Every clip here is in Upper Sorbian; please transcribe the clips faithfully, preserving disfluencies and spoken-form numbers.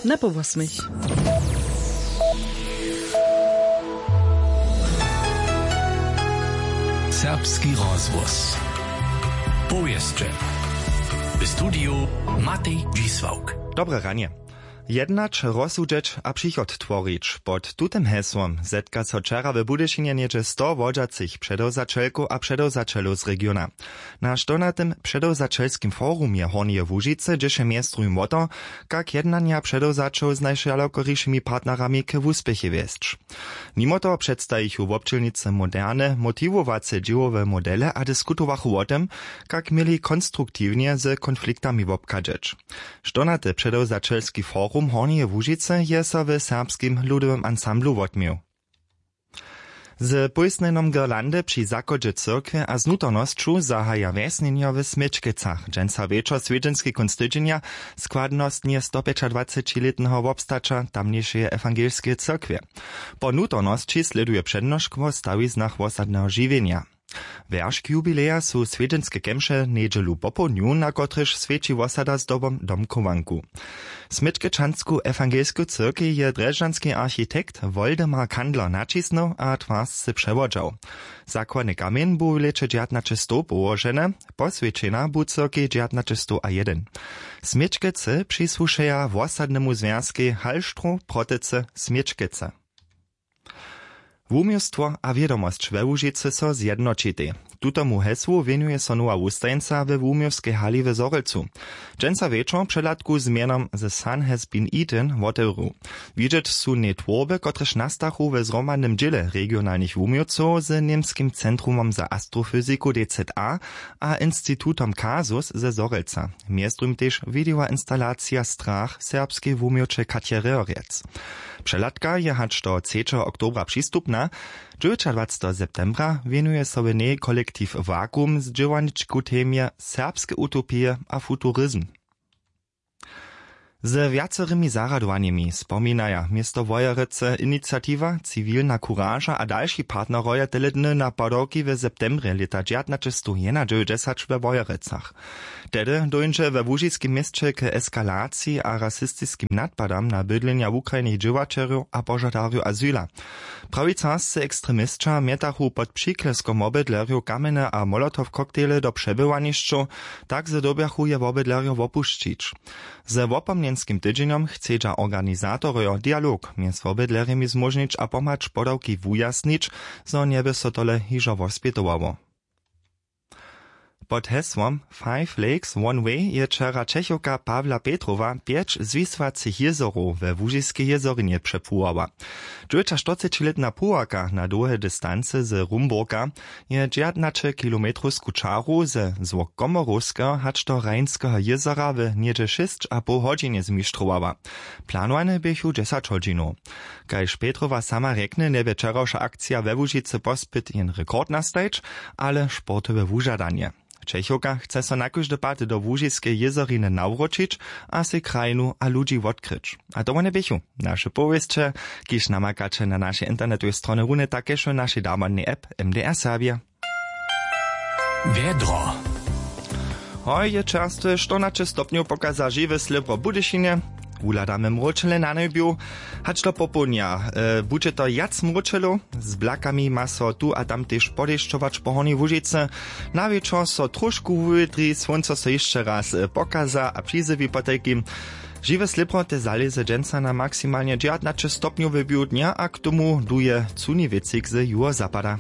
Na po wosmich. Serbski rozhłos. Powěsće. W studiju Matej Dźisławk. Dobre ranje. Jednać, rozsudźeć a přichod tworić, pod tutym hesłom zetka so wčera w budyšinje něhdźe sto wodźacych předewzaćelkow a předewzaćelow z regiona. Na štonatym předewzaćelskim forumje hornjeje łužicy dźěše mjez druhim wo to, kak jednanja předewzaćow z najšalokorišimi partnerami k wuspěchej wjesć. Nimo toho předstajichu wobdźělnicy moderne motiwowace dźěłowe modele a diskutowachu wo tym, kak měli konstruktiwnje z konfliktami wobchadźeć. Štonaty předewzaćelski forum hornjeje łužicy je so w serbskim ludowym ansamblu wotměł. Z pójsnjenjom girlandy při zachodźe cyrkwje a z nutornosću zahaja wjesnjenjo w směčkecach dźensa wječor swjedźenski kónc tydźenja, składnostnje stopjećadwacećilětneho wobstaća tamnjejšeje ewangelskeje cyrkwje. Po nutornosći slěduje přednošk wo stawiznach wosadneho žiwjenja. Wjeršk jubileja su swjedźenske kemše njedźelu popołdnju, na kotrychž swjeći wosada zdobom domchowanku. Směčkečansku ewangelsku cyrkej je drježdźanski architekt woldemar kandler naćisnył a twarsce přewodźał. Zakładny kamjeń bu w lěće dźewjatnaćestow połoženy. Poswjećena bu cyrkej dźewjatnaćestow a jedyn. Směčkecy přisłušeja wosadnemu zwjazkej halštrow protycy směčkecy. Wuměłstwo a wědomosć we łužicy so zjednoćitej. Tutomu hesłu wěnuje so nowa wustajeńca we wuměłskej hali w zhorjelcu. Dźensa wječor přehladku z mjenom the sun has been eaten wotewru. Widźeć su njej twórby kotrež nastachu we zhromadnym dźěle regionalnych wuměłcow z němskim centrumom za astrofyziku dza a institutom kasus ze zhorjelca. Mjez druhim tež widejoinstalacija strach serbskej wuměłće katjerejo rjec. Přehladka je hač do třećeho oktobra přistupna. Dźewjećadwaceteho septembra wěnuje so w njej kolektiw vakuum z dźěłarničku temje serbske utopije a futurizm. Ze wjacerymi zarjadowanjemi spominaja město wojerecy iniciatiwa ciwilna kuraža a dalši partneroje tele dny na padawki w septembrje lěta dźewjatnaćestowjenadźewjećdźesać we wojerecach. Tehdy dóńdźe we łužiskim měsće k eskalaciji a rasistiskim nadpadam na bydlenja wukrajnych dźěłaćerjow a požadarjow azyla. Prawicarscy ekstremisća mjetachu pod přikleskom wobydlerjow kamjene a molotow koktejle do přebywanišćow, tak zo dyrbjachu je wobydlerjo wopušćić. Ze wopomnjenskim tydźenjom chcedźa organizatorojo dialog mjez wobydlerjemi zmóžnić a pomhać podawki wujasnić, zo njeby so tole hižo wospjetowało. Pod hesłom five lakes one way je wčera čechowka pawla petrowa pjeć zwisłacych jězorow we łužiskej jězorinje přepłuwała. Dźewjećaštyrcećilětna płuwarka na dołhe distancy z rumburka je dźewjatnaćekilometrowsku čaru ze złok komorowskeho hač do rheinskeho jězora w něhdźe šěsć a poł hodźinje zmištrowała. Planowany běchu dźesać hodźinow. Kaž petrowa sama rjekny njebje wčerawša akcija we łužicy pospyt jen rekord nastajić, ale sportowe wužadanje. Čechowka chce so na kóždy pad do łužiskeje jězoriny nawróćić a sej krajinu a ludźi wotkryć. A to wone běchu naše powěsće, kiž namakaće na našej internetowej stronje runje tak kaž w našej damodnej app. M D R serbje. Wjedro. Hoj je čerstwe štyrnaće stopnjow pokaza žiwe slěbro w budyšinje. Wuhladamy mróčele na njebju. Hač do popołdnja budźe to wjac mróčelow. Z blakami ma so tu a tam tež podešćować po hornjej łužicy. Na wječor so tróšku wuwětri słónco so hišće raz pokaza a přizjewi potajkim. Žiwe slěbro te zalěze dźensa na maksimalnje dźewjatnaće stopnjowy bił dnja a k tomu duje cuni wětřik ze juhozapada.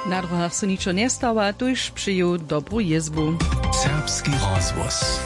Na dróhach so ničo njestawa tuž přeju dobru jězbu. Serbski rozhłos.